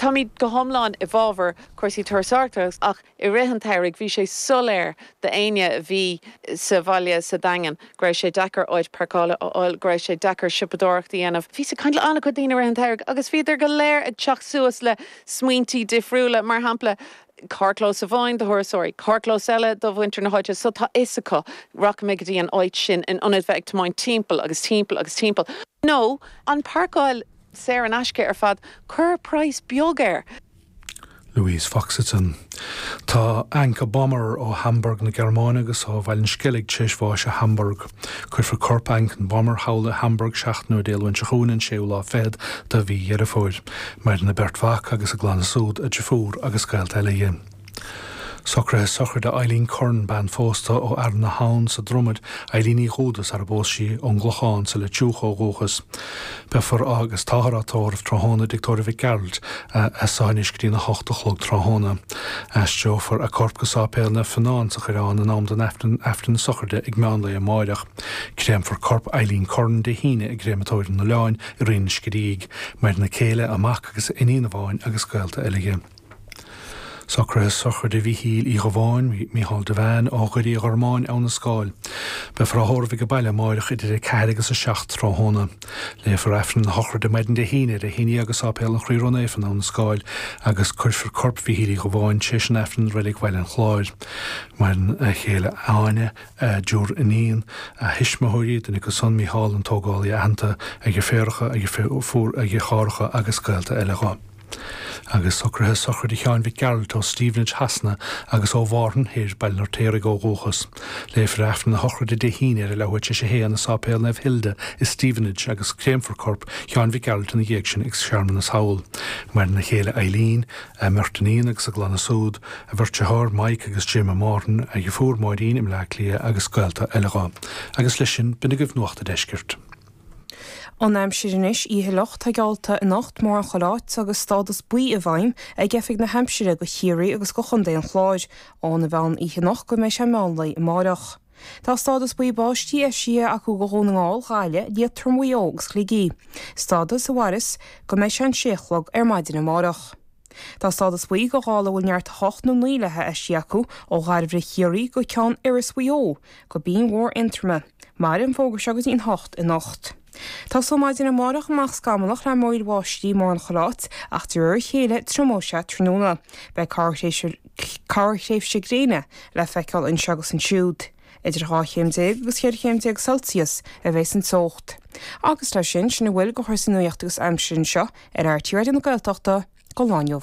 Táimid go hiomlán i bhfabhar cúrsaí turasóireachta ach i rith an tsamhraidh bhí sé soiléir d'éinne a bhí sa bhaile sa Daingean go raibh sé deacair áit páirceála a fháil, go raibh sé deacair siopadóireacht a dhéanamh. Bhíos ag caint le an-chuid daoine i rith an tsamhraidh agus bhíodar go léir ag teacht suas le smaointí difriúla, mar shampla carrchlós amháin do thurasóirí, carrchlós eile do mhuintir na háite so tá fhios acu rachaidh mé go dtí an áit sin in ionad bheith ag tiomáint timpeall agus timpeall agus timpeall. Nó an páirceáil saor in aisce ar fad, cuir praghas beag air. Louise Foxington. Tá Anka Bommer ó Hamburg na Gearmáine agus ó Bhaile an Sceilg tar éis bháis i Hamburg. Cuirfear corp Anka Bommer thall i Hamburg seachtain ó Dé Luain seo chugainn, an séú lá fichead de mhí Dheireadh Fómhair. Maireann a beirt mhac agus a gclanna súd, a deirfiúr agus gaolta eile dhi. Socruithe sochraide Eileen Curran, bean phósta ó Fhearann na hAbhann sa Dromaid, Eileen Uí Dhúda sara bpós sí, ón gClochán sa Leitir Fhiuchadh ó dhúchas. Beifear á agus táthar á tórramh tráthnóna i dTigh Tórraimh Mhic Gearailt as so anois go dtí'n 8 a chlog tráthnóna. Aistreofar a corp go Sáipéal Naomh Fionán sa Choireán in am don Aifreann na sochraide ag meán lae amáireach. Créamfar corp Eileen Curran Dé hAoine i gCréamatóir an Oileáin i Rinn an Scidígh. Maireann a céile, a mac agus a iníon amháin agus gaolta eile dhi. Socruithe sochraide Mhíchíl Uí Dhubháin, Mícheál Devane, ó Dhoirí an Ghormáin, Abha na Scáil. Beifear á thórramh ag an baile amáireach idir 4 agus 7 tráthnóna. Léifear Aifreann na sochraide maidin Dé hAoine ar a haon dhéag i Sáipéal an Chroí Ró-Naofa in Abha na Scáil agus cuirfear corp Mhíchíl Uí Dhubháin tar éis an Aifrinn i Reilig Bhaile an Chláir. Maireann a chéile Áine, a dtriúr iníon, a thuismitheoirí, duine acu san, Mícheál an tógálaí aitheanta, a dheirféaracha, a dheirfiúr, a dheartháireacha agus gaolta eile dho. Agus socruithe sochraide Sheáin Mhic Gearailt ó Stevenage Shasana agus ó Mhárthain Thoir, Baile an Fheirtéaraigh ó dhúchas. Léifear Aifreann na sochraide Dé hAoine ar a leathuair tar éis a haon i Sáipéal Naomh Hilda i Stevenage agus créamfar corp Sheáin Mhic Gearailt ina dhiaidh sin ag searmanas thall. Maireann a chéile Eileen, a mbeirt iníon agus a gclanna súd, a bheirt dearthár Mike agus Jim i Márthain, a dheirfiúr Máirín i mBleá Cliath agus gaolta eile dho. Agus leis sin, b'in agaibh Nuacht a' Deiscirt. An aimsir anois, Oíche fhliuch atá geallta anocht mórán chuile áit agus stádas buí i bhfeidhm ag Oifig na hAimsire do Chiarraí agus do Chontae an Chláir óna mheán oíche anocht go mbeidh sé meán lae amáireach. Tá stádas buí báistí eisithe acu do Dhún na nGall, Gaillimh, Liatroim, Mhaigh Eo agus Shligigh, stádas a mhairfeas go mbeidh sé an sé a chlog ar maidin amáireach. Tá stádas buí do ghála a bhfuil neart 8 nó 9 léi eisithe acu ó Dhairbhre Chiarraí go Ceann Iorrais Mhaigh Eo go Binn Mhór Aontroma. Mairfidh an fógra seo go dtí an 8 anocht. Tosóidh maidin amárach amach scamallach le múraíl bháistí mórán chuile áit ach de réir a chéile triomóidh sé tráthnóna. Beidh corrthréimhse gréine le feiceáil anseo agus ansiúd. Idir 12 chéim agus 14 chéim Celsius a bheas an teocht. Agus leis sin, sin a bhfuil de chúrsaí nuachta agus aimsire anseo ar RTÉ Raidió na Gaeltachta don lá inniu.